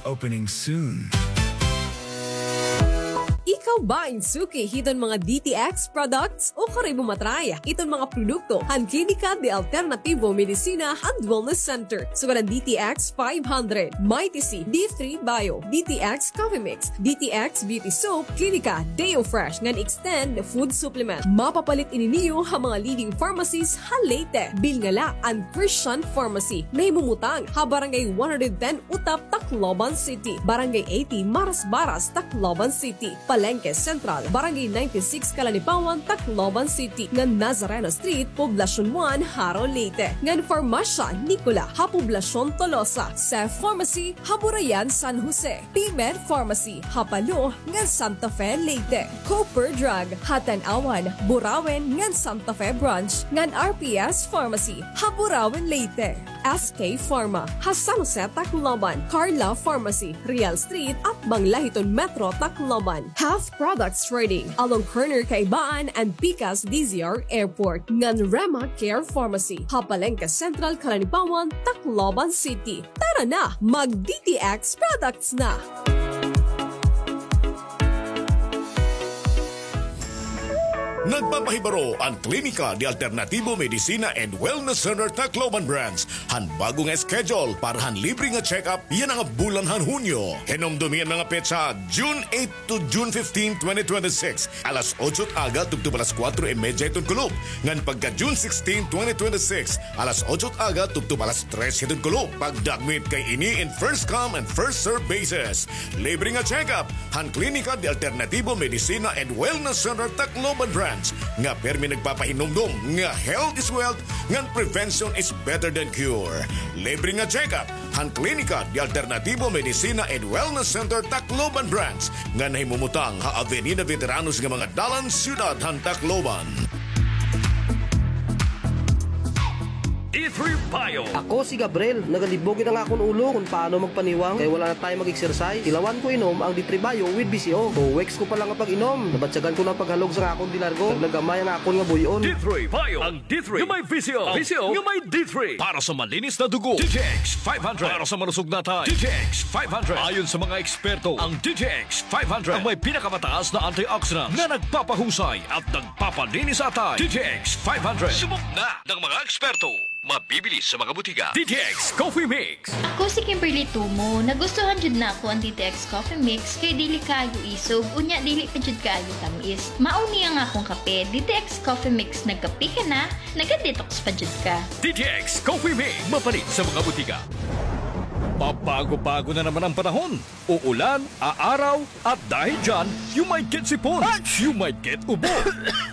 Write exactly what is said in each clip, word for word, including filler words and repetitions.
Opening soon. Ikaw ba in suki hiton mga D T X products? Ukon kay imo ma-try iton mga produkto han Klinika de Alternativo Medicina and Wellness Center? Sugad han D T X five hundred, Mighty C, D three Bio, D T X Coffee Mix, D T X Beauty Soap, Klinika Deo Fresh ngan Extend Food Supplement. Mapapalit ini niyo ha mga leading pharmacies ha Leyte. Bilngala an Christian Pharmacy, nahimumutang ha Barangay one hundred ten Utap, Tacloban City, Barangay eighty Marasbaras, Tacloban City, Palengke Central, Barangay ninety-six Calanipawan, Tacloban City, ngan Nazareno Street, Poblacion one, Jaro, Leyte, ngan Farmasya Nicola ha Poblacion Tolosa, Seth Pharmacy ha Burayan, San Jose, P-Med Pharmacy ha Palo ngan Santa Fe, Leyte, Cooper Drug ha Tanauan, Burauen ngan Santa Fe Branch, ngan R P S Pharmacy ha Burauen, Leyte, S K Pharma ha San Jose, Tacloban, Carla Pharmacy, Real Street, atbang la hiton Metro Tacloban, Health Products Trading along corner Kaibaan and Pikas D Z R Airport, ngan Rema Care Pharmacy ha Palengke Central, Calanipawan, Tacloban City. Tara na, mag-D T X products na! Nagpapahibaro an Klinika de Alternativo Medicina and Wellness Center Tacloban Branch han bag-o nga schedule para han libre nga check-up yana nga bulan han Hunyo. Hinumdumi an mga petsa, June eight to June fifteen, twenty twenty-six, alas otso it aga tubtob alas kuwatro y medya hiton kulop, ngan pagka June sixteen, twenty twenty-six, alas otso it aga tubtob alas tres hiton kulop. Pagdagmit kay ini in first come and first serve basis. Libre nga check-up han Klinika de Alternativo Medicina and Wellness Center Tacloban Branch nga pirmi nagpapahinumdom nga health is wealth ngan prevention is better than cure. Libre nga check-up han Klinika de Alternativo Medicina and Wellness Center Tacloban Branch nga nahimumutang ha Avenida Veteranos nga mga dalan, siyudad han Tacloban. D three Bio. Ako si Gabriel, nagalibog gid an akon ulo kon paano magpaniwang kay wala na tayo mag-exercise. Tilawan ko inom ang D three Bio with V C O. Two weeks ko pa lang nga pag-inom, nabatyagan ko na an paghalog sa akon de largo. Naglagamay ang akon nga buy-on. D three Bio. Ang D three nga may V C O. V C O nga may D three. Para sa malinis na dugo, D T X five hundred. Para sa malusog na atay, D T X five hundred. Ayon sa mga eksperto, ang D T X five hundred ang may pinakamataas na antioxidants na nagpapahusay at nagpapalinis sa atay. D T X five hundred. Subok na ng mga eksperto. Mabibili sa mga butika. D T X Coffee Mix. Ako si Kimberly Tumo. Nagustuhan jud nako ang D T X Coffee Mix kay dili kaayo isog, unya dili pa jud kaayo tamis. Mao ni ang akong kape, D T X Coffee Mix. Nagkape ka na, naga-detox pa jud ka. D T X Coffee Mix, mapalit sa mga butika. Pabago-bago na naman ang panahon. Uulan, aaraw, at dahil dyan, you might get sipon, you might get ubo,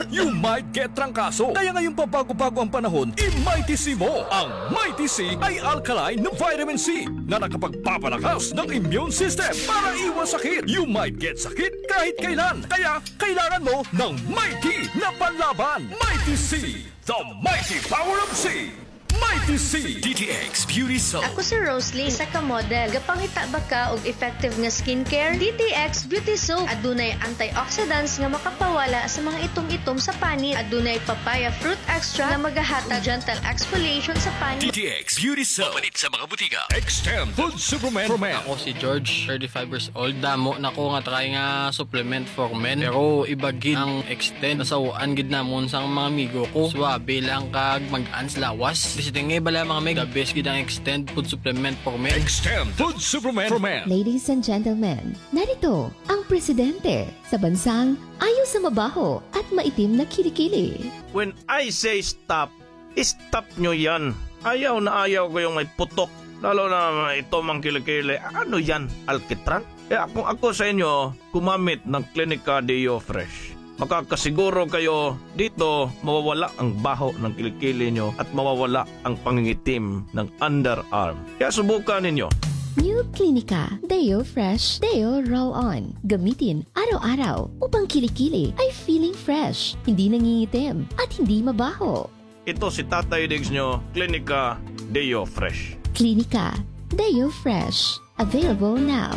you might get trangkaso. Kaya ngayong pabago-bago ang panahon, i-Mighty C mo. Ang Mighty C ay alkaline na vitamin C na nakapagpapalakas ng immune system para iwas sakit. You might get sakit kahit kailan. Kaya kailangan mo ng Mighty na panlaban. Mighty C, the mighty power of C. Mighty C. D T X Beauty Soap. Ako si Roslyn, isa ka model. Gapangita ba ka og effective nga skincare? D T X Beauty Soap. Adunay antioxidants nga makapawala sa mga itom-itom sa panit. Adunay papaya fruit extract nga magahatag gentle exfoliation sa panit. D T X Beauty Soap. Mapalit sa mga butika. Extend Food Supplement for Men. Ako si George, thirty-five years old. Damo na ko nga try nga supplement for men. Pero iba gid ang Extend. Nasaw-an gid namon sa mga amigo ko. Suabe lang kag mag-ans lawas. Basta nga bala, mga mig, the best gid ang Extend food supplement for men. Extend food supplement for men. Ladies and gentlemen, narito ang presidente sa bansang ayaw sa mabaho at maitim na kilikili. When I say stop, stop nyo yan. Ayaw na ayaw ko yung may putok. Lalo na may itom ang kilikili. Ano yan? Alkitran? Kaya kung ako sa inyo, gumamit ng Klinika Deo Fresh. Makakasiguro kayo dito mawawala ang baho ng kilikili nyo at mawawala ang pangingitim ng underarm. Kaya subukan ninyo. New Klinika Deo Fresh Deo Roll-On. Gamitin araw-araw upang kilikili ay feeling fresh, hindi nangingitim, at hindi mabaho. Ito si Tatay Diggs nyo, Klinika Deo Fresh. Klinika Deo Fresh. Available now.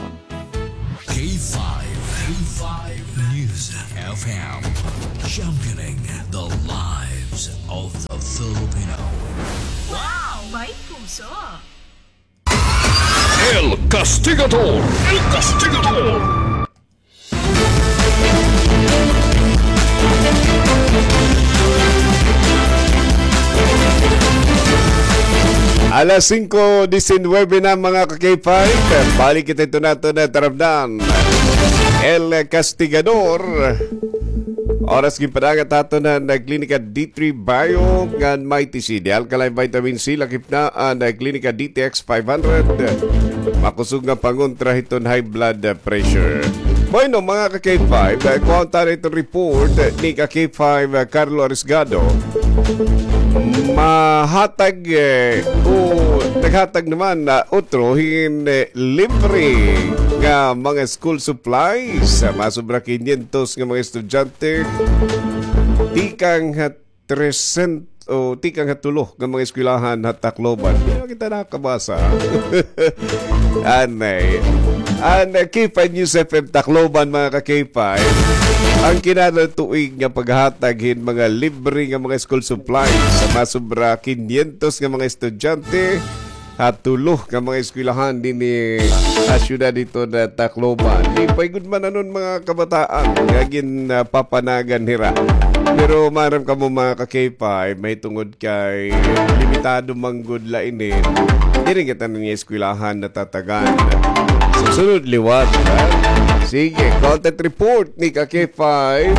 K five, K five News F M, championing the lives of the Filipino. Wow! May puso! El Castigador. El Castigador. Alas singko disinuybe na, mga ka-K five. Balik kita ito nato na tarabdan. El Castigador. Oras ginpadagat ato na nagklinika D three Bio ngan Mighty C, the alkaline vitamin C, lakip na an nagklinika D T X five hundred. Makusog nga pangontra hiton high blood pressure. Bueno, mga ka-K five, eh, kuhaon ta na iton report, eh, ni ka-K five, eh, Carlo Arisgado. Mahatag, eh, o naghatag naman na utro hin, eh, libre nga mga school supplies. Masobra kinyentos nga mga estudyante tikang ha tresent-, o tikang ha tulo nga mga eskwelahan ha Tacloban. Di na kita nakabasa. Anay. An K five News F M Tacloban, mga ka-K five, an kinahanglan tuig nga paghatag hin mga libre nga mga school supplies sa masobra kinyentos nga mga estudyante ha tulo nga mga eskwelahan dinhi ha syudad hiton Tacloban. Di pa gud man anon mga kabataan nga ginpapanagan hira. Pero maaram kamo, mga ka-K five, mahitungod kay limitado man gud la ini, diri kita na niya eskwelahan natatagan. Sa sunod liwat, ha? Sige, content report ni ka-K five.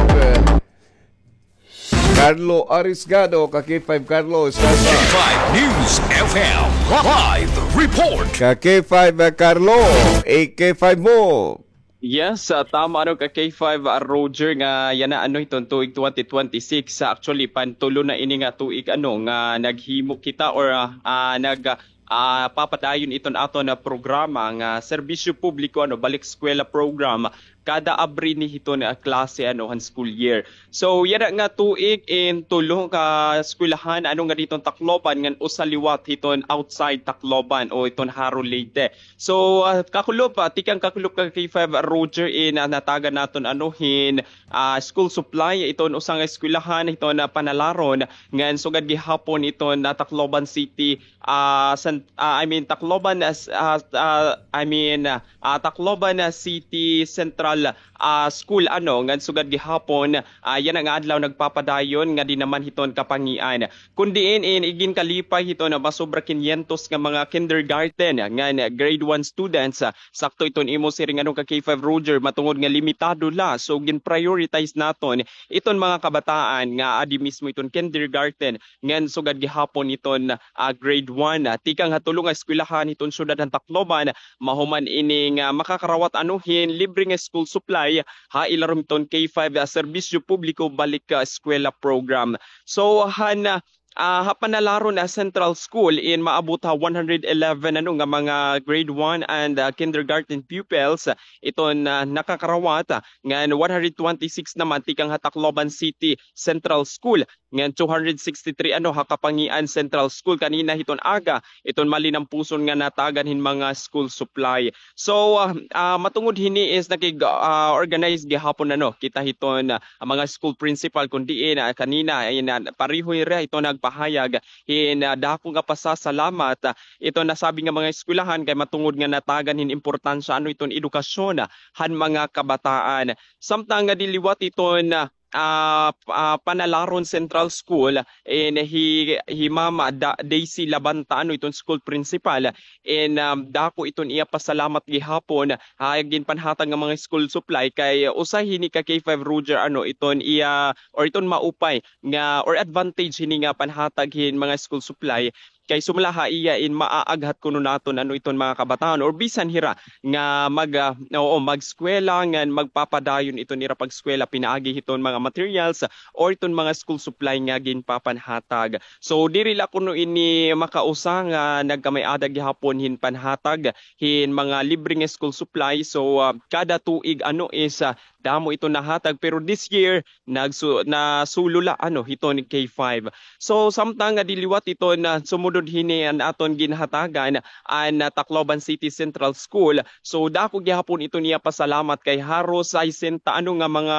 Carlo Arisgado, ka-K five Carlo, Sasa. K five News F M live report. Ka-K five, ah, Carlo, A K five mo. Yes, ah, tama, ano, ka-K five, ah, Roger, nga yana, ano, hiton tuig twenty twenty-six, ah, actually, pantulo na ini nga tuig, ano, nga naghimo kita or, ah, ah, nag, ah, papadayon iton aton nga programa nga serbisyo publiko, ano, balik eskwela program, kada abri ni hiton, ah, klase, ano, han school year. So, yana nga tuig in tulo ka eskwelahan, ano, nga dinhi hiton Tacloban, ngan usa liwat hiton outside Tacloban o hiton Jaro, Leyte. So, ah, kakulop, ah, tikang kakulop ka-K five Roger in, ah, natagan naton, ano, hin, ah, school supply iton usa nga eskwelahan hiton, ah, Panalaron, ngan sugad gihapon iton, ah, Tacloban City, ah, San-, ah, I mean, Tacloban, ah, s-, ah, ah, I mean, ah, ah, Tacloban, ah, City Central, ah, School, ano, ngan sugad gihapon, ah, yana nga adlaw nagpapadayon nga dinhi naman hiton Kapangian. Kon diin in iginkalipay hiton masobra kinyentos nga mga kindergarten ngan grade one students, ah, sakto iton imo siring, ano, ka-K five Roger, matungod nga limitado la. So, gin-prioritize naton iton mga kabataan nga adi mismo iton kindergarten ngan sugad gihapon iton, ah, grade one, ah, tikang ha tulo nga eskwelahan hiton syudad han Tacloban, mahuman ini nga makakarawat, ano, hin libre nga school supply ha ilarom hiton K five, ah, serbisyo publiko balik, ah, eskwela program. So, han, ah, ah, ha Panalaron, ah, Central School in maabot ha one hundred eleven, ano, nga mga grade one and, ah, kindergarten pupils, ah, iton, ah, nakakarawat, ah, ngan one hundred twenty-six naman tikang ha Tacloban City Central School, ngan two hundred sixty-three, ano, ha Kapangian Central School kanina hiton aga, iton malinampuson nga natagan hin mga school supply. So, ah, ah, matungod hini is nakig-, ah, organize gihapon, ano, kita hiton, ah, mga school principal, kon diin, ah, kanina, ay, na, pareho hira hiton nagpahayag hin, ah, dako nga pasasalamat, ah, iton nasabi nga mga eskwelahan kay matungod nga natagan hin importansya, ano, iton edukasyon, ah, han mga kabataan. Samtang nga diliwat iton, ah, ah, p-, ah, Panalaron Central School, in hi, hi Mama Da-, Daisy Labanta, ano, iton school principal, in, um, dako iton iya pasalamat gihapon ha ginpanhatag nga mga school supply kay usa hini ka-K five Roger, ano, iton iya or iton maupay nga or advantage hini nga panhatag hin mga school supply kay sumala ha iya in maaaghat kuno naton, ano, iton mga kabataan or bisan hira nga mag, ah, oo, mag-eskwela ngan magpapadayon iton ira pag-eskwela pinaagi hiton mga materials or iton mga school supply nga ginpapanhatag. So, diri la kuno ini makausa nga nagkamay-ada gihapon hin panhatag hin mga libre nga school supply. So, ah, kada tuig, ano, is, ah, damo iton nahatag, pero this year nagsu-, nasulo la, ano, hiton K five. So, samtang nga diliwat iton, ah, sumod hini an aton ginhatagan an, ah, Tacloban City Central School. So, dako gihapon iton iya pasalamat kay haros sesenta ano nga mga,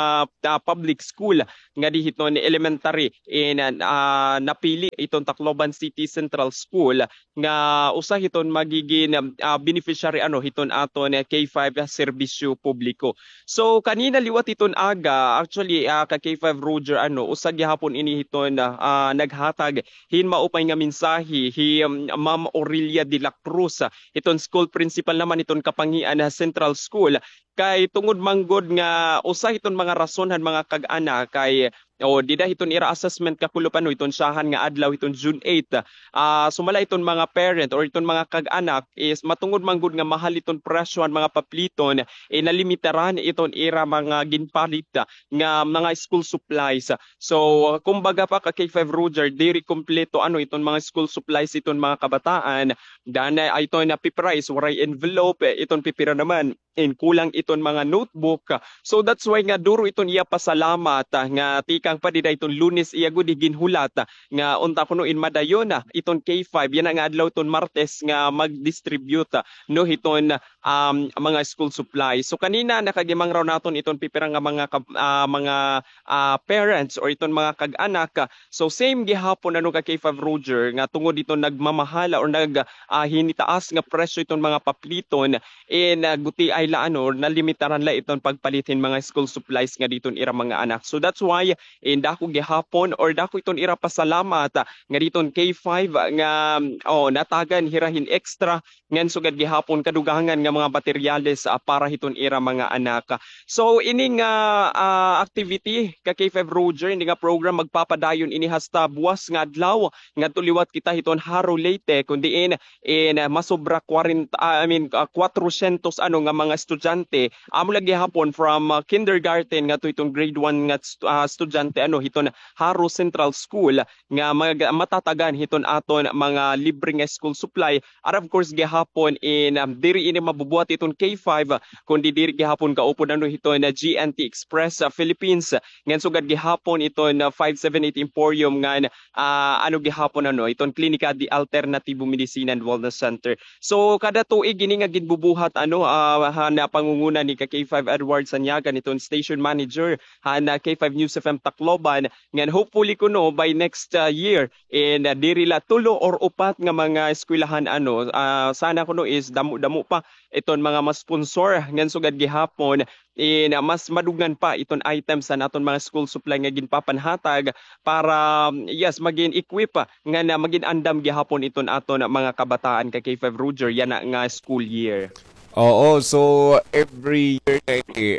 ah, public school ngadi hiton elementary in, ah, napili iton Tacloban City Central School nga usa hiton magigin, ah, beneficiary ano hiton aton, ah, K five serbisyo publiko. So, kanina liwat hiton aga, actually, ah, ka K five Roger, ano, usa gihapon ini hiton, ah, naghatag hin maupay nga mensahe hi, um, Ma'am Aurelia de la Cruz, ah, hiton school principal naman hiton Kapangian, ah, Central School. Kay tungod man gud nga usa hiton mga rason han mga kag-anak kay, o, dida hiton ira assessment kakulop ano hiton syahan nga adlaw hiton June eight, ah, sumala hiton mga parent or hiton mga kag-anak is matungod man gud nga mahal hiton presyo han mga papliton, eh, nalimitaran iton ira mga ginpalit nga mga school supplies. So, kumbaga pa ka K five Roger, diri kompleto ano iton mga school supplies iton mga kabataan. Dan, ah, iton na paper is waray envelope, eh, iton pipira naman in kulang iton mga notebook. So that's why nga duro iton iya pasalamat, ah, nga tikang pa dida iton Lunes iya gud ginhulat, ah, nga unta kuno in madayon, ah, iton K five, yana nga adlaw iton Martes nga mag-distribute, ah, no, hiton, um, mga school supplies. So kanina nakagimangraw naton iton pipira nga mga kab-, ah, mga, ah, parents or iton mga kag-anak, ah, So, same gihapon ano ka K five Roger nga tungod iton nagmamahala or nag, ah, hinitaas nga presyo iton mga papliton, eh, nagutiay la ano or nalimitaran la iton pagpalit hin mga school supplies nga diton ira mga anak. So, that's why, eh, dako gihapon or dako iton ira pasalamat, ah, nga diton K five nga, oh, natagan hira hin extra ngan sugad gihapon kadugangan nga mga materyales, ah, para hiton ira mga anak. So, ini nga, ah, activity ka K five Roger, ini nga program magpapadayon ini hasta buwas nga adlaw ngadto liwat kita hiton Jaro, Leyte, kun diin in, ah, masobra kwarenta, ah, I mean, ah, kwatrosyentos ano nga mga estudyante, amo la gihapon from, ah, kindergarten ngadto hiton grade one nga st-, ah, estudyante ano hiton Jaro Central School nga mag-, matatagan hiton aton mga libre nga school supply. And of course, gihapon in, um, diri ini mabubuhat iton K five, kundi diri gihapon kaupod ano hiton, ah, G N T Express, ah, Philippines, ngan sugad gihapon iton, ah, five seven eight Emporium ngan, ah, ano gihapon ano, iton Klinika de Alternativo Medicina and Wellness Center. So, kada tuig ini nga ginbubuhat ano, ah, han pangunguna ni ka K five Edward Sanyagan, iton station manager han, ah, K five News F M Tacloban, ngan hopefully kuno by next, ah, year, in, ah, diri la tulo or upat nga mga eskwelahan, ano, ah, sana kuno is damo-damo pa iton mga ma-sponsor ngan sugad gihapon in, ah, mas madugnan pa iton items han aton mga school supply nga ginpapanhatag para, yes, magin equip, ah, ngan magin andam gihapon iton aton mga kabataan ka K five Roger yana nga school year. Oo, so every year na ini,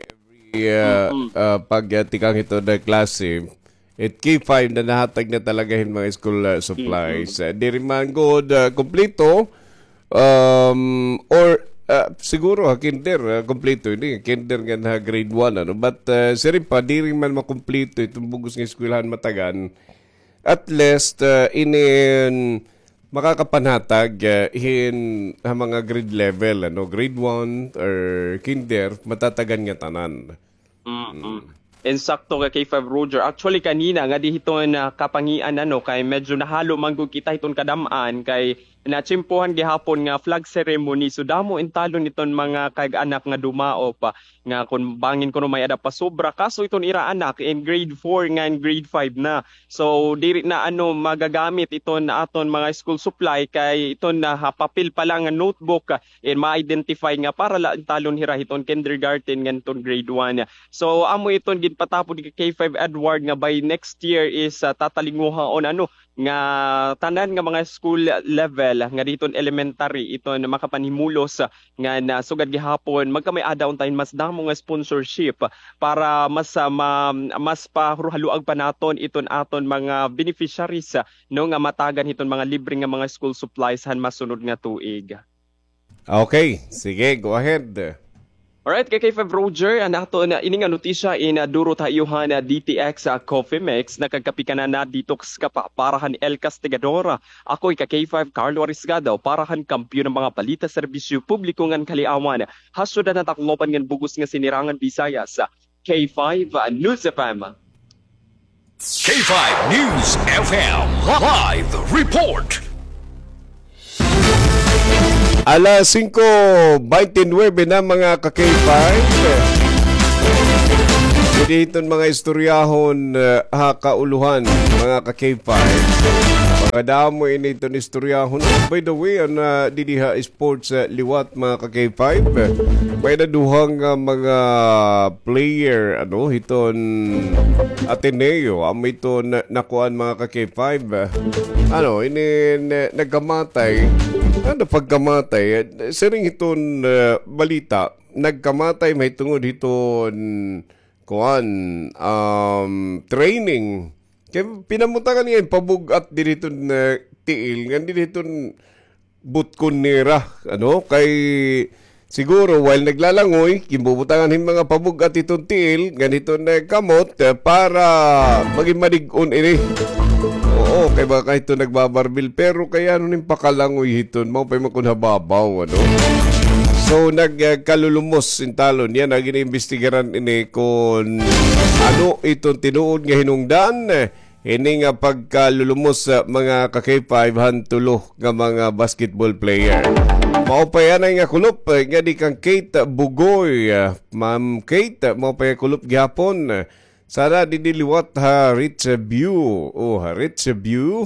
every, ah, ah, pag, ah, tikang hito na klase, it K five na nahatag na talaga hin mga school, ah, supplies. Ah, diri man gud, ah, kompleto, um, or, ah, siguro ha kinder, ah, kompleto ini, kinder ngan ha grade one, ano. But, ah, siring pa, diri man makompleto iton bug-os nga eskwelahan matagan. At least, ah, inin makakapanhatag, ah, hin ha mga grade level, ano, grade one or kinder, matatagan nga tanan. Mm-mm. Insakto ka K five Roger. Actually, kanina ngadi hiton, ah, Kapangian, ano, kay medyo nahalo man gud kita hiton kadam-an kay natsimpohan gihapon nga flag ceremony. So, damo in talon iton mga kag-anak nga dumaop, ah, nga kun bangin kuno may-ada pa sobra. Kaso iton ira anak in grade four ngan grade five na. So, diri na, ano, magagamit iton aton mga school supply kay iton na ha papel pa la nga notebook, ah, in ma-identify nga para la talon hira hiton kindergarten ngan hiton grade one. So, amo iton ginpatapod ni K five Edward nga by next year is, ah, tatalinguhaon, ano, nga tanan nga mga school level nga diton elementary iton makapanhimulos, ah, ngan sugad gihapon magkamay-ada unta hin mas damo nga sponsorship para mas, ah, ma-, mas pahaluag pa naton iton aton mga beneficiaries, ah, no, nga matagan hiton mga libre nga mga school supplies han masunod nga tuig. Okay, sige, go ahead. Alright, ka K five Roger, an aton ini nga notisya in, ah, duro ha iyo han, ah, D T X, ah, Coffee Mix, nakagkape ka na, na-detox ka pa. Para han El Castigador, ako hi ka K five Carlo Arisgado, para han Kampiyon han mga Balita, Serbisyo Publiko ngan Kaliawan, ha syudad han Tacloban ngan bug-os nga Sinirangan Visayas, K five News F M. K five News F M live report. Alas singko baynte nuwebe na, mga ka-K five. Didi hiton mga istoryahon, eh, ha kauluhan, mga ka-K five. Mga damo ini iton istoryahon. By the way, an, ah, didi ha sports, eh, liwat, mga ka-K five. May na duha nga mga player, ano, hiton Ateneo, amo iton nakuan, mga ka-K five. Ano, ini, eh, nagkamatay. Ano, pagkamatay, eh, siring hiton, eh, balita, nagkamatay mahitungod hiton, kuan, um, training. Kay pinamutangan niya hin pabug-at didi hiton, eh, tiil, ngan didi hiton butkon nira, ano, kay siguro while naglalangoy, ginbubutangan hin mga pabug-at hiton tiil, ngan hiton, eh, kamot, eh, para magin madig-on ini. Oo, kay baka hiton nagbabarbil, pero kay ano nin pakalangoy hiton, maupay man kon ha babaw, ano. So, nag, eh, kalulumos hin talon. Yana, gin-iimbestigaran ini kon ano iton tinuod nga hinungdan, eh, ini nga pagkalulumos, ah, mga ka-K five, han tulo nga mga basketball player. Maupay anay nga kulop, eh, ngadi kan Kate Bugoy. Ah, Ma'am Kate, maupay nga kulop gihapon. Sana didi liwat ha Rich View. Oh, ha Rich View,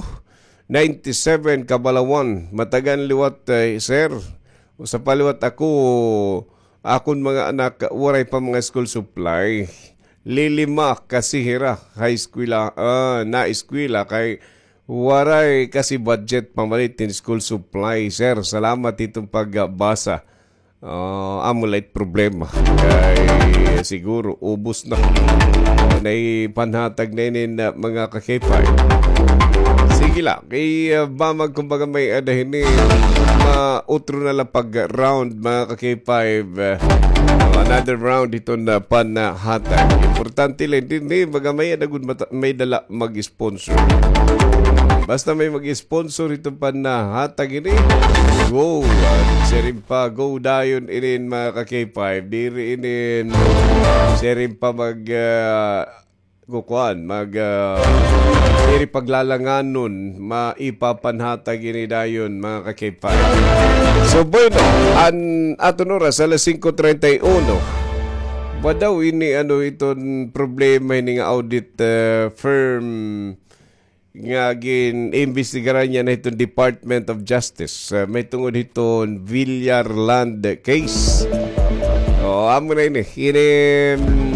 ninety-seven Kabalawan. Matagan liwat, eh, sir. Usa pa liwat ako, akon mga anak, waray pa mga school supply. Lilima kasi hira ha eskwela, ah, na eskwela kay waray kasi budget pamalit hin school supply, sir. Salamat hiton pagbasa. Ah, amo la it problema. Kay siguro, ubos na. Nay panhatag na ini na mga ka-K five. Sige la. Kay, ah, bamag kumbaga may-ada hini, ma-, utro na la pag-round, mga ka-K five. Ah, another round hiton panhatag. Importante la, dinhi, baga may-ada gud mata-, may-ada la mag-sponsor. Basta may mag-sponsor hiton panhatag ini. Go! Ah, siring pa, go dayon inin, mga ka-K five. Diri inin, siring pa mag, ah, kukuan, mag, ah, diri paglalanganon, maipapanhatag ini dayon, mga ka-K five. So, bueno, an aton oras, alas singko treinta y uno. Ba daw ini, ano, iton problema ini nga audit, eh, firm nga gin-imbestigaran niya na hiton Department of Justice, eh, mahitungod hiton Villar Land case. O, amo na ini. Ini, mm,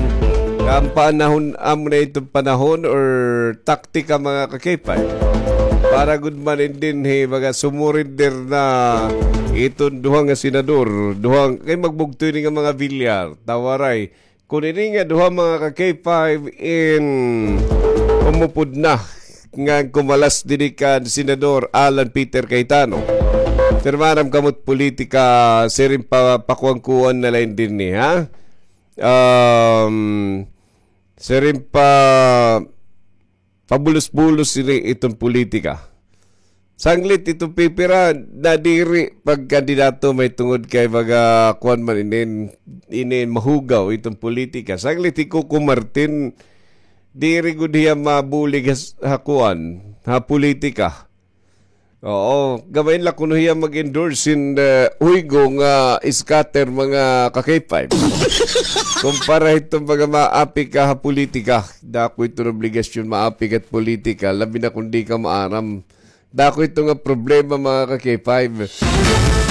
an panahon, amo na iton panahon or taktika, mga ka-K five. Para gud man in dinhi, baga sumurrender na iton duha nga senador, duha, kay magbugto ini nga mga Villar, ta waray. Kon ini nga duha, mga ka-K five, in umupod na nga kumalas didi kan Senador Alan Peter Cayetano. Pero maaram kamo it politika, siring pa, pakuan-kuan na la in dinhi, ha? Um, siring pa, pabulos-bulos ini iton politika. Sanglit iton pipira, nadiri pagkandidato mahitungod kay baga kuan man inin, inin mahugaw iton politika. Sanglit hi Coco Martin, diri gud hiya mabulig ha s-, ha kuan, ha politika. Oo, gamay la kuno hiya mag-endorse hin, eh, huygo nga scatter, mga ka-K five. Kumpara hito mga maapi ka ha politika. Dako iton obligasyon maapi ka ha politika, labi na kon di ka maaram. Dako ito nga problema, mga ka-K five.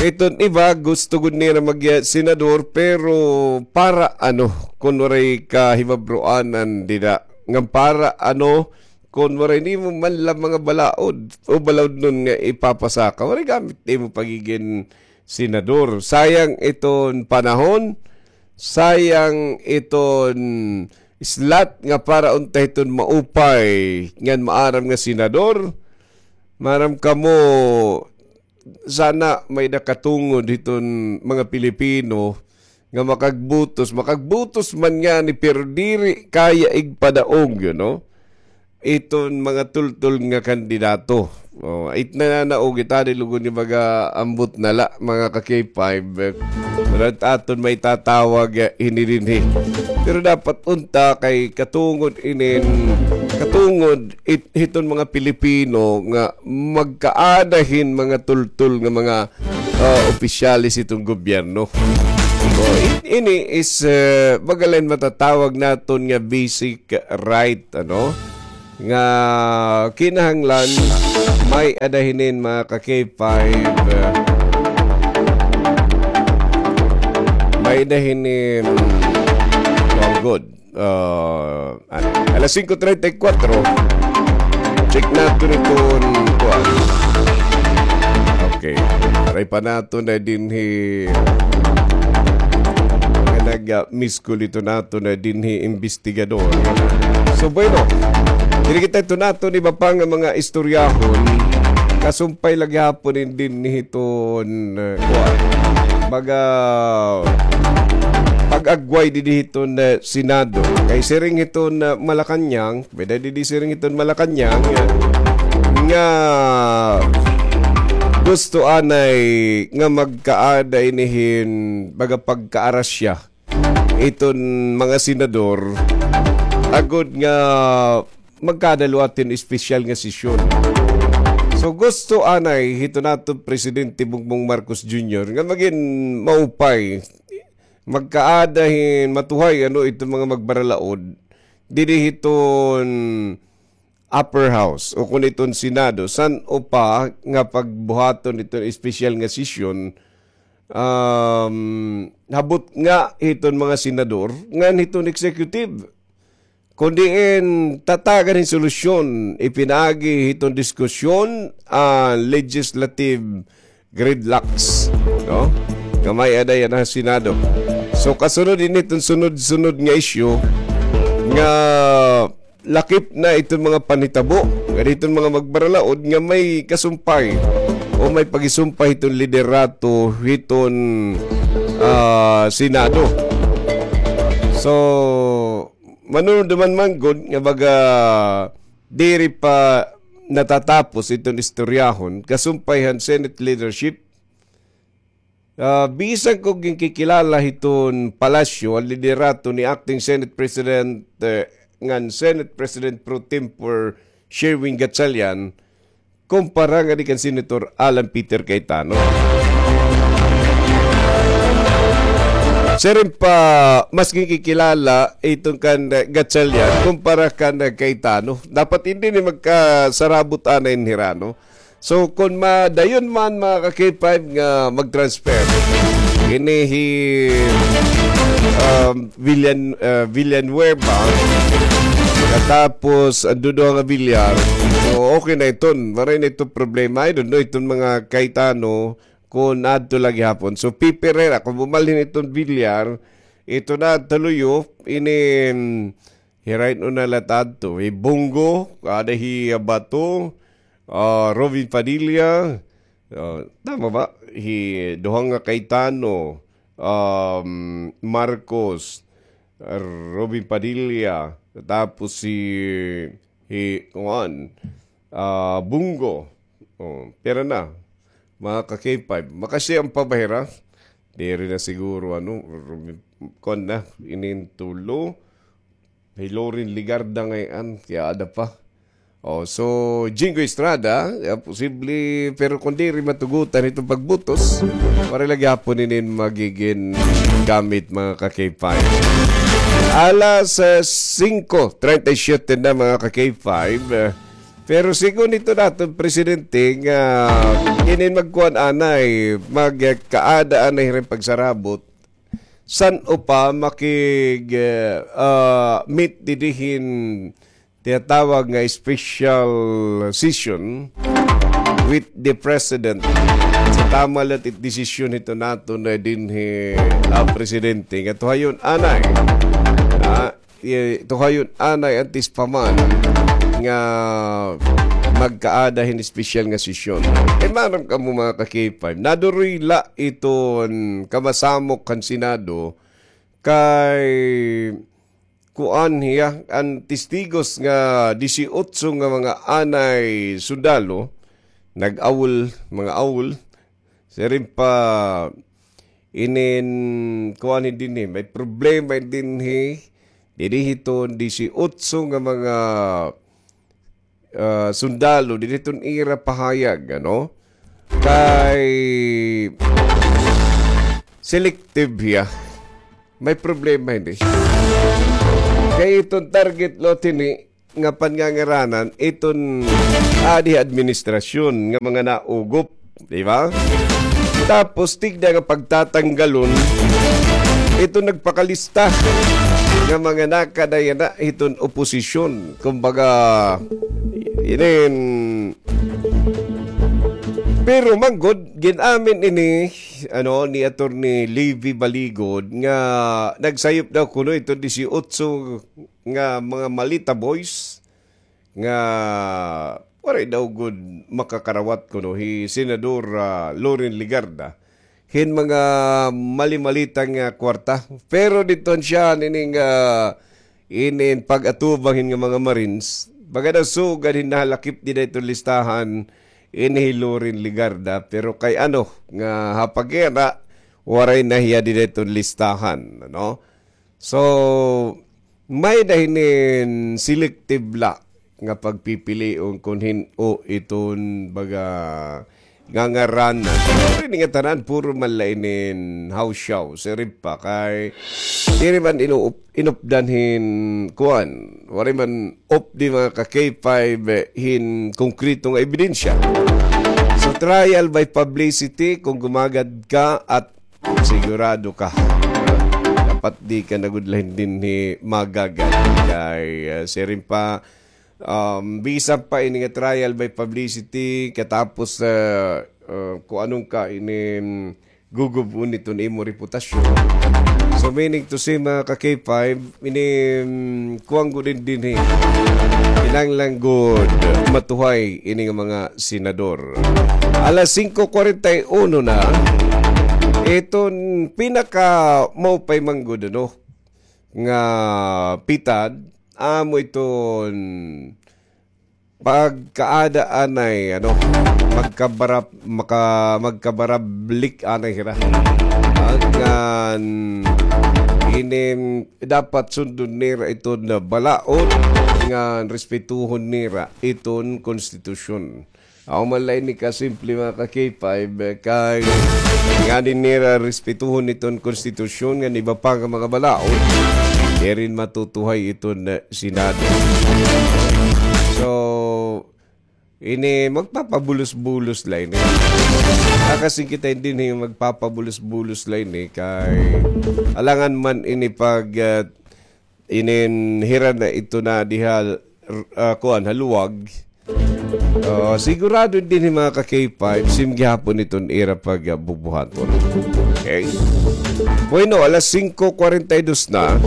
Iton iba, gusto gud nira mag, eh, senador, pero para ano, kon waray kahibabroanan dida. Ngan para ano, kon waray nimo man la mga balaod o balaodnon nga ipapasaka, waray gamit nimo pagigin senador. Sayang iton panahon, sayang iton slot nga para unta hiton maupay ngan maaram nga senador. Maaram kamo, sana may nakatungod hiton mga Pilipino nga makagbutos, makagbutos man ngani, pero diri kaya igpadaog, you know, iton mga tultol nga kandidato. O, it nananaog, it ani lugod nga mag-aambot na la, mga ka-K five. Pero it aton may tatawag, eh, hini dinhi. Pero dapat unta kay katungod inin, tungod it, hiton mga Pilipino nga magkaada hin mga tultol nga mga, ah, opisyales hiton gobyerno. So, i-, ini is, eh, baga la hin matatawag naton nga basic right, ano? Nga kinahanglan may-ada hinin, mga ka-K five, eh, may-ada hinin, kuan gud. Ah, ano, alas singko treinta y cuatro. Check naton iton kuan. Okay. Aray pa naton na dinhi nga nag-, ah, miss call ito naton na dinhi investigador. So, bueno, diri kita ito naton iba pa nga mga istoryahon. Kasumpay la gihapon in dinhi hiton, eh, kuan. Baga pag-agway dinhi hiton, eh, Senado. Kay siring hiton, eh, Malacañang, pwede didi siring hiton Malacañang, eh, nga gusto anay nga magkaada ini hin baga pagkaarasya iton mga senador agod nga magkadalwa tin espesyal nga sesyon. So, gusto anay hito naton Presidente Bongbong Marcos Junior nga magin maupay, magkaada hin matuhay, ano, iton mga magbaralaod didi hiton upper house o kun iton Senado, san-o pa nga pagbuhaton iton espesyal nga sesyon, um, habot nga hiton mga senador ngan hiton executive. Kon diin tatagan hin solusyon, ipinaagi hiton diskusyon an legislative gridlocks, no? Nga may-ada yana ha Senado. So, kasunod ini hiton sunod-sunod nga isyu nga lakip na iton mga panhitabo, nga hiton mga magbaralaod nga may kasumpay o may pagisumpay hiton liderato hiton, ah, Senado. So, manunod naman man gud nga baga diri pa natatapos iton istoryahon, kasumpay han Senate leadership. Ah, bisan ko ginkikilala hiton palasyo an liderato ni Acting Senate President, eh, ngan Senate President pro tempore Sherwin Gatchalian, kumpara ngadi kan Senator Alan Peter Cayetano. Siring pa, mas ginkikilala iton kan, eh, Gatchalian kumpara kan, eh, Cayetano. Dapat hindi ni magkasarabot anay hin hira, no? So, kon madayon man, mga ka-K five, nga mag-transfer, ini hi, um, Villan-, uh, Villanueva, katapos an duduha nga Villar, so, okay na iton. Waray na iton problema. I don't know, iton mga Cayetano, kon adto la gihapon. So, pipirera, kon bumalhin iton Villar, ito na, tuloy, oh, ini, mm, Hirain una la tadto. Hi Bong Go, ada hi Bato, ah, Robin Padilla, ah, tama ba? Hi duha nga Cayetano, um, Marcos, Robin Padilla, tapos si, hi, kuan, ah, Bong Go. Oh, pira na? Mga ka-K five. Makasiam pa ba hira? Diri na siguro, ano, Robin, kuan na, inin tulo. Hi Loren Legarda ngay-an, kay ada pa. Oh, so, Jinggoy Estrada, ah, posible, pero kon diri matugutan iton pagbutos, waray la gihapon inin magigin gamit, mga ka-K five. Alas, ah, singko treinta y siete na, mga ka-K five. Ah, pero sigon ito naton presidente nga inin magkuan anay, magkaada anay hira hin pagsarabot, san-o pa makig, eh, ah, meet didi hin tinatawag nga special session with the president. So, tama la it desisyon hito naton dinhi, ah, presidente nga tuhayon anay. Ah, eh, tuhayon anay antes pa man nga magkaada hin espesyal nga sesyon. Kay maaram kamo, mga ka-K five, nadurila iton kamasamok kan Senado kay kuan hiya, an testigos nga disiotso nga mga anay sundalo, nag-awol, mga awol, siring pa inin kuan dinhi, may problema dinhi, dinhi hiton disiotso nga mga ah, sundalo, diri iton ira pahayag, ano? Kay selective hiya. May problema ini. Kay iton target lot ini nga pangangaranan, iton adi administrasyon nga mga naugop, di ba? Tapos tigda nga pagtatanggalon, iton nagpakalista nga mga nakadayana iton oposisyon. Kumbaga, inin, pero manggod, gin-amin ini, ano, ni Attorney Levy Baligod nga nagsayop daw kuno ito disiotso nga mga Malita Boys nga waray daw gud makakarawat kuno hi Senador, ah, Loren Legarda hin mga mali-malita nga kwarta. Pero didto siya nining, ah, inin pag-atubang hin nga mga Marines, baga daw sugad hin nahalakip dida iton listahan ini hi Loren Legarda, pero kay ano nga ha paghira, waray na hiya dida iton listahan, ano? So, may-ada hinin selective la nga pagpipilion kon hin-o iton baga ngangaranan. Pero ini nga tanan, puro man la inin hawsyaw, siring pa kay diri man inuup-, inupdan hin kuan. Waray man updi, mga ka-K five, hin konkreto nga ebidensya. So, trial by publicity, kung gumagad ka at sigurado ka. Dapat di ka na gud la hin dinhi magagad. Kay, ah, siring pa, um, bisan pa ini nga trial by publicity, katapos, ah, ah, kung anong ka ini, mm, gugub-on iton imo reputasyon. So, meaning to say, mga ka-K five, ini, mm, kuan gud dinhi. Kinahanglan gud matuhay ini nga mga senador. Alas singko kwarenta y uno na, iton pinakamaupay man gud, ano, nga pitad, amo iton pagkaada anay, ano, magkabarap-, maka-, magkabarablik anay hira. Ngan inin dapat sundon nira iton balaod, ngan respetuhon nira iton konstitusyon. Amo man la ini kasimple, mga ka-K five, kay ngan nira respetuhon iton konstitusyon ngan iba pa nga mga balaod, diri matutuhay iton, eh, Senado. So, ini magpapabulos-bulos la ini. Nakasingkit ay dinhi magpapabulos-bulos la ini kay alangan man ini pag, ah, inin hira na ito na diha, ah, kuan, ha luwag. Ah, sigurado dinhi, mga ka-K five, same gihapon iton ira pagbubuhaton. Okay? Bueno, alas singko kwarenta y dos na.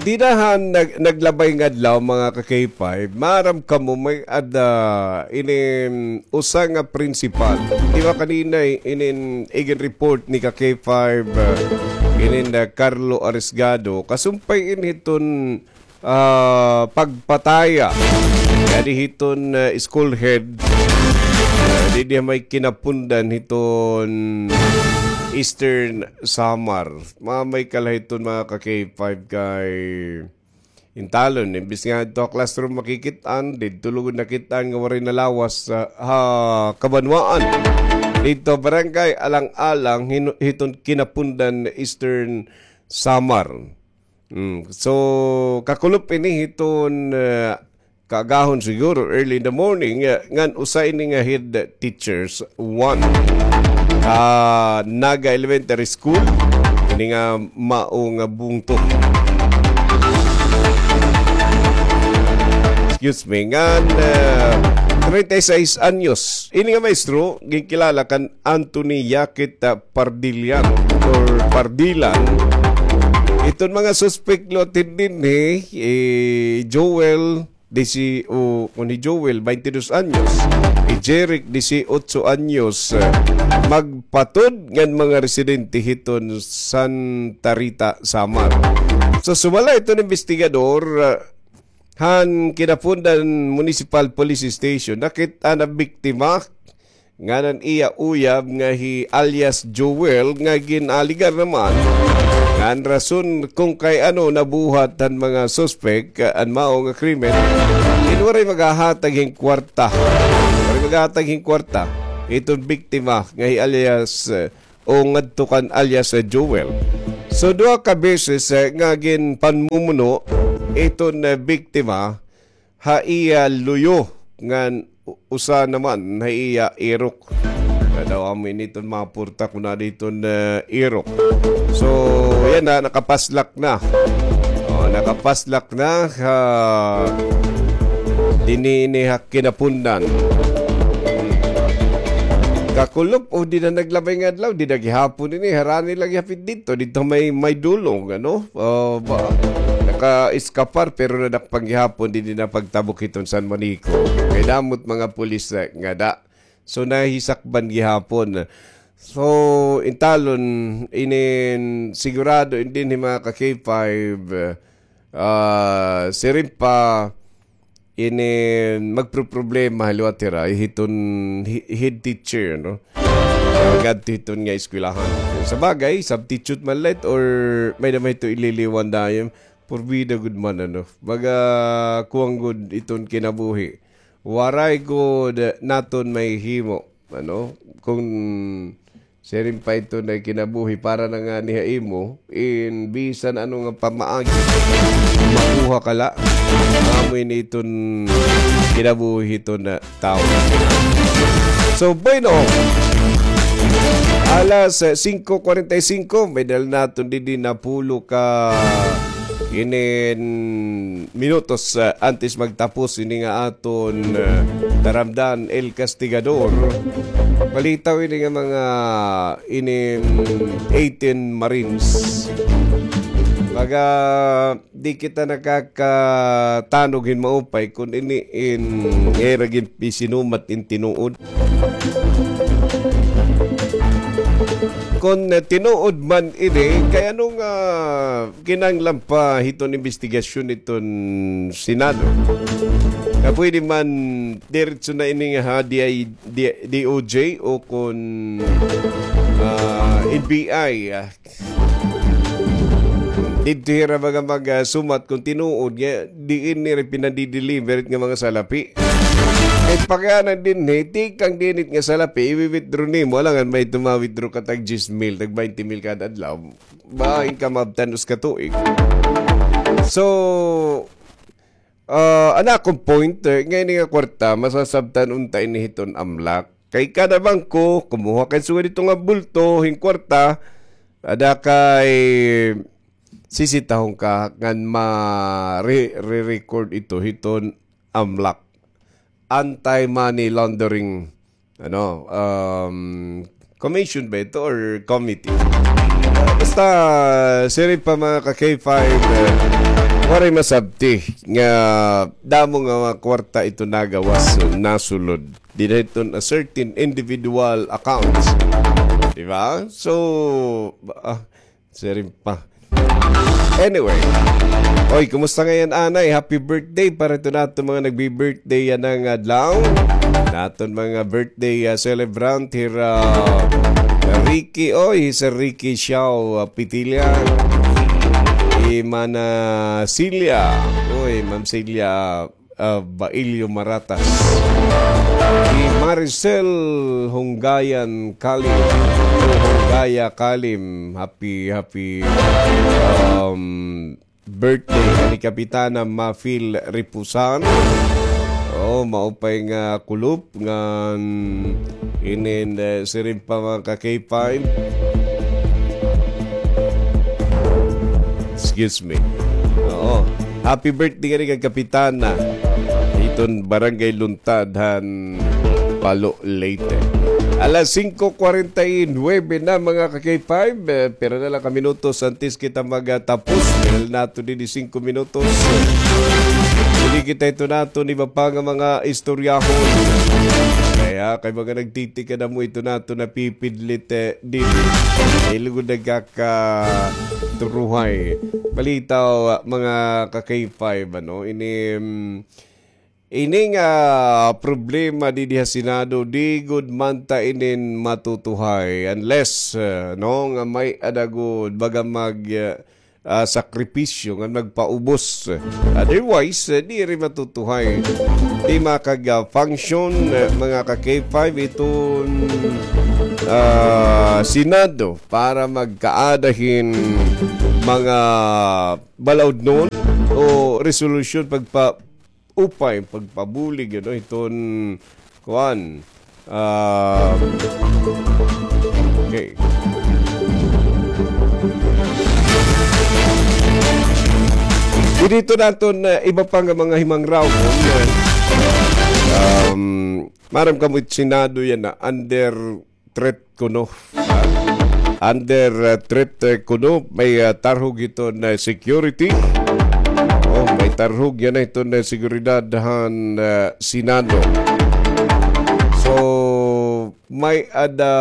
Dida han nag-, naglabay nga adlaw, mga ka-K five, maaram kamo may-ada ini usa nga principal. Di ba kanina, eh, inin igin-report ni ka-K five, ah, inin, ah, Carlo Arisgado, kasumpay ini hiton, ah, pagpataya ngadi hiton, ah, school head, ah, didi ha may Kinapundan hiton Eastern Samar. Mga may kalahiton, mga ka-K five, kay intalon, imbis nga didto ha classroom makikit-an, didto lugod nakit-an nga waray nalawas ha, ha kabanwaan. Didto barangay Alang-alang, hin-, hiton Kinapundan, Eastern Samar. Mm. So, kakulop ini hiton, eh, kaagahon siguro, early in the morning, eh, ngan usa ini nga head teachers one, ah, Naga Elementary School, ini nga mao nga bungto. Excuse me, ngan, eh, treinta y seis anyos. Ini nga maestro, ginkilala kan Anthony Yakit, ah, Pardillan or Pardilan. Iton mga suspek lot dinhi, eh, Joel, disi-, o, kun hi Joel, baynte dos anyos. Hi Jeric, disiotso anyos. Eh, magpatod ngan mga residente hiton Santa Rita, Samar. So, sumala iton investigador, ah, han Kinapundan Municipal Police Station, nakit-an an biktima ngan an iya uyab nga hi alias Joel nga gin-aligar naman nga an rason kon kay ano nabuhat han mga suspek, ah, an mao nga krimen, in waray maghahatag hin kwarta. Waray maghahatag hin kwarta iton biktima nga hi alias, eh, o ngadto kan alias, eh, Joel. So, duha ka beses, eh, nga ginpanmumuno iton, eh, biktima ha iya luyo ngan u-, usa naman ha iya irok. Kay daw amo ini iton mga purta kon ano iton, eh, irok. So, yana, nakapaslak na. O, nakapaslak na, ah, dinhi ini ha Kinapundan. Kakulop, o, dida naglabay nga adlaw, dida gihapon ini, harani la gihapon didto, didto may, may dulong, ano? Ah, ba, naka-eskapar, pero nadakpan gihapon, didi na pagtabok hiton San Manico. Kay damo it mga pulis, eh, ngada. So, nahisakban gihapon. So, intalon, inin sigurado, inin hi mga ka-K five, ah, siring pa, inin magproproblema liwat hira, hiton hi-, head teacher, no? Ngadto hiton nga eskwelahan. Sa bagay, substitute man la it or may-ada man hito ililiwan dayon, porbida gud man, ano? Baga, kuan gud iton kinabuhi. Waray gud naton mahihimo, ano? Kon siring pa iton nga kinabuhi para na ngani ha imo, in bisan ano nga pamaagi, makuha ka la. Amo ini iton kinabuhi hiton, ah, tawo. So, bueno, alas, eh, singko kwarenta y singko, may dala naton didi napulo ka inin minutos, ah, antes magtapos ini nga aton, ah, taramdan, El Castigador. Balitaw ini nga mga inin eighteen Marines. Baga di kita nakakatanog hin maupay kon ini in ira ginpisinumat in tinuod. Kon, eh, tinuod man ini, kay ano nga kinahanglan pa hiton imbestigasyon hiton Senado? Nga pwede man diretso na ini nga ha D I, D-, D O J o kon, ah, N B I, ah, didto hira baga mag, ah, sumat kon tinuod nga diin nira pinadi-deliver it nga mga salapi. Kay pakiana dinhi, tikang dinhi it nga salapi, iwi-withdraw nimo, alangan may tuma-withdraw ka tag diyes mil, tag baynte mil kada adlaw. Bain ka maabtan usa ka tuig. So, ah, an akon point, eh, nga ini nga kwarta, masasabtan unta ini hiton AMLAC. Kay kada bangko, kumuha kay sugad didto nga bulto, hin kwarta, ada kay sisitahon ka ngan ma-, re-, re-record ito hiton AMLAC. Anti-money laundering, ano, um, commission ba ito or committee? Basta, siring pa mga ka-K five, eh, waray masabti nga damo nga mga kwarta ito nagawas, nasulod. Dida hiton a certain individual accounts. Di ba? So, ah, siring pa. Anyway. Oy, kumusta ngay-an, anay? Happy birthday para ito naton mga nagbi-birthday yana nga adlaw. Naton mga birthday, ah, celebrant, hira Ricky, oy, Sir Ricky Xiao, ah, Pitilla. Hi Mana Celia, oy, Ma'am Celia, ah, Bailio Maratas. Hi Maricel Hunggayan Kalim, o Hunggaya Kalim, happy, happy, um, birthday kay Kapitana Mafil Ripusan. Oh, maupay nga kulop ngan inin, eh, siring pa mga ka-K five. Excuse me. Oo. Happy birthday ngani kay Kapitana. Hiton Barangay Luntad han Palo, Leyte. Alas singko kwarenta y nuebe na, mga ka-K five. Eh, pira na la ka minutos antes kita magatapos. Diri naton didi singko minutos. Diri kita ito naton iba pa nga mga istoryahon. Kay, kay mga nagtitikad amo ito naton napipidlit, eh, didi. Diri lugod nagkakaturuhay. Balitaw, mga ka-K five, ano, ini, mm, Ini nga problema didi ha Senado, di gud man ta inin matutuhay unless, ah, no, nga may-ada gud baga mag, ah, ah, sakripisyo nga magpaubos. Otherwise, ah, diri matutuhay. Di makag-function, ah, mga ka-K five, iton, ah, Senado para magkaada hin mga balaudnon o resolusyon pagpa- upay pagpabulig, ano, hiton, kuan. Ah, okay. Didi hiton aton, ah, iba pa nga mga himangrawon, ah, um, maaram kamo it Senado yana, under threat kuno. Ah, under, ah, threat, eh, kuno, may, ah, tarhog hiton, ah, security. Oh, may tarhog yana hiton, ah, seguridad han, ah, Senado. So, may-ada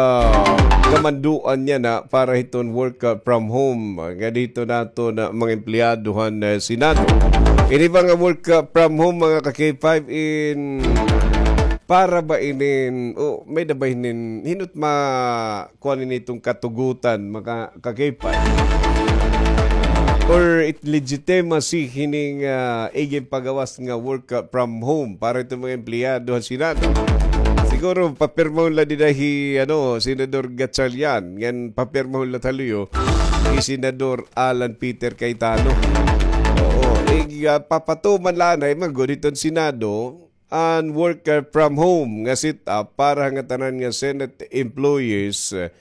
kamanduan yana para hiton work, ah, from home. Nga dito nato na mga empleyado han, ah, Senado. Ini ba nga work, ah, from home, mga ka-K five, in para ba inin, o may-ada ba inin, hin-o it ma-, kuan ini hiton katugutan, mga ka-K five? Or it legitimacy hining, ah, iginpagawas nga work, ah, from home para hiton mga empleyado han Senado? Siguro, papirmahon la dida hi, ano, Senador Gatchalian, ngan papirmahon la ta luyo hi Senador Alan Peter Cayetano. Oo, ig-, ah, papatuman la anay man gud hiton Senado an work, ah, from home nga setup para ha ngatanan nga Senate employees, ah,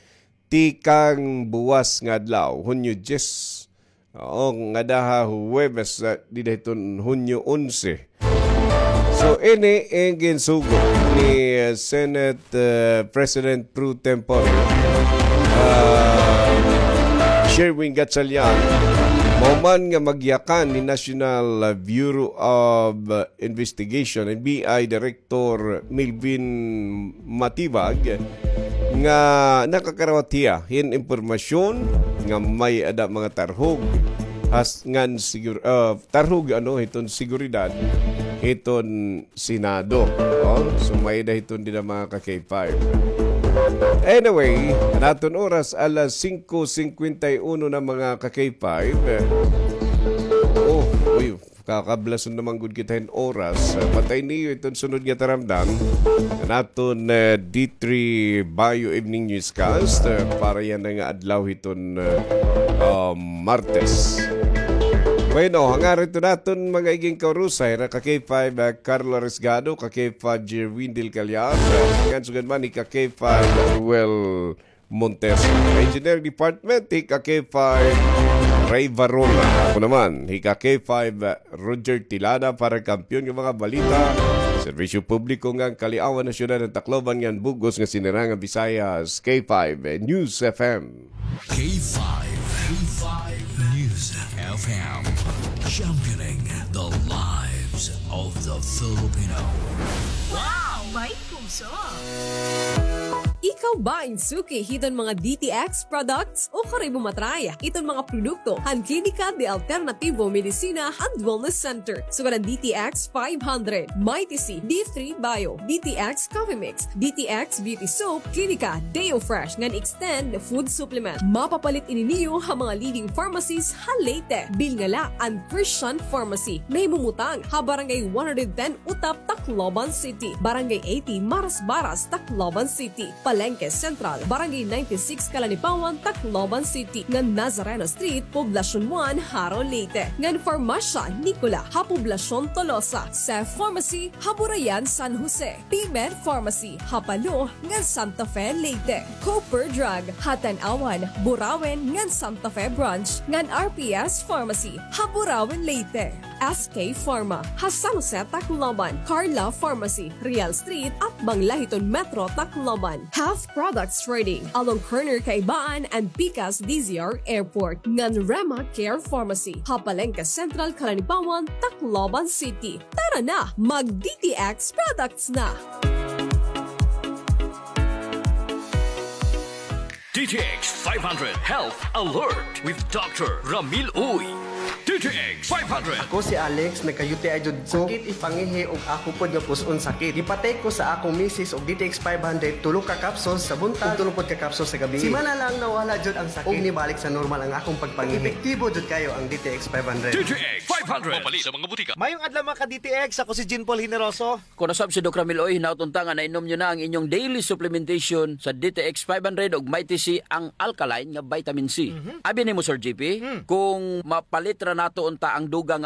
tikang buwas nga adlaw, Hunyo diyes. Oo, ngada ha Huwebes, ah, dida hiton Hunyo onse. So, ini an ginsugo ni, ah, Senate, ah, President pro tempore, ah, Sherwin Gatchalian, mahuman nga magyakan ni National, ah, Bureau of, ah, Investigation, N B I Director Melvin Matibag, nga nakakarawat hiya hin impormasyon nga may-ada mga tarhog has-, ngan sigur-, ah, tarhog, ano, hiton seguridad hiton Senado. Oh, so may-ada hiton dida, mga ka-K five. Anyway, an aton oras alas singko singkwenta y uno na, mga ka-K five. Oh, uy, kakablason naman gud kita hin oras. Patay niyo iton sunod nga taramdan. An aton, eh, D three Bio Evening Newscast, eh, para yana nga adlaw hiton, eh, ah, Martes. Bueno, hangarin ito naton mga iging kaurusay, hira ka-K five, ah, Carlo Arriesgado, ka-K five, Jerwin Del Callar, ah, ngan sugad man hi ka-K five, Ruel Montes. Engineering Department, hi ka-K five, Ray Varona. Ako naman, hi ka-K five, ah, Roger Tilada para kampiyon nga mga balita. Serbisyo publiko ngan kaliawan han syudad han Tacloban ngan bug-os nga sinirangan Visayas, K five, eh, News F M. K five, K five News F M, championing the lives of the Filipino. Wow! May puso! Ikaw ba in suki hiton mga D T X products? O kari mo matry iton mga produkto han Klinika de Alternativo Medicina and Wellness Center, sugad han D T X five hundred, Mighty C, D three Bio, D T X Coffee Mix, D T X Beauty Soap, Klinika, Deo Fresh, ngan Extend Food Supplement. Mapapalit ini niyo ha mga leading pharmacies ha Leyte. Bilnga la an Christian Pharmacy, nahimumutang ha Barangay one hundred ten Utap, Tacloban City, Barangay eighty Marasbaras, Tacloban City, Palengke Central, Barangay ninety-six Calanipawan, Tacloban City, ngan Nazareno Street, Poblacion one, Jaro, Leyte, ngan Farmasya Nicola ha Poblacion Tolosa, Seth Pharmacy ha Burayan, San Jose, P-Med Pharmacy ha Palo ngan Santa Fe, Leyte, Cooper Drug ha Tanauan, Burauen ngan Santa Fe Branch, ngan R P S Pharmacy ha Burauen, Leyte, S K Pharma ha San Jose, Tacloban, Carla Pharmacy, Real Street, atbang la hiton Metro Tacloban, Health Products Trading along corner Kaibaan and Pikas D Z R Airport, ngan Rema Care Pharmacy ha Palengke Central, Calanipawan, Tacloban City. Tara na, mag D T X products na! D T X five hundred Health Alert with Doctor Ramil Uy. X five hundred. Ako si Alex, nagka-U T I jud ko. Sakit ipangihi ug ako pod nga pus-on sakit. Gipa-take ko sa akong misis og D T X five hundred, tulo ka capsules sa buntag ug tulo pod ka capsules sa gabii. Simana lang nawala jud ang sakit ug nibalik sa normal ang akong pagpangihi. Epektibo jud kayo ang D T X five hundred. D T X five hundred. Mapalit sa mga butika. Mayong adlaw, mga ka-D T X. Ako si Jean Paul Generoso. Kon nasab si Doc Ramil, oy, hinaot unta nga nainom nyo na ang inyong daily supplementation sa D T X five hundred ug Mighty C, ang alkaline nga vitamin C. Mhm. Abi nimo, Sir G P, hmm, kung mapalit ra nato unta ang dugang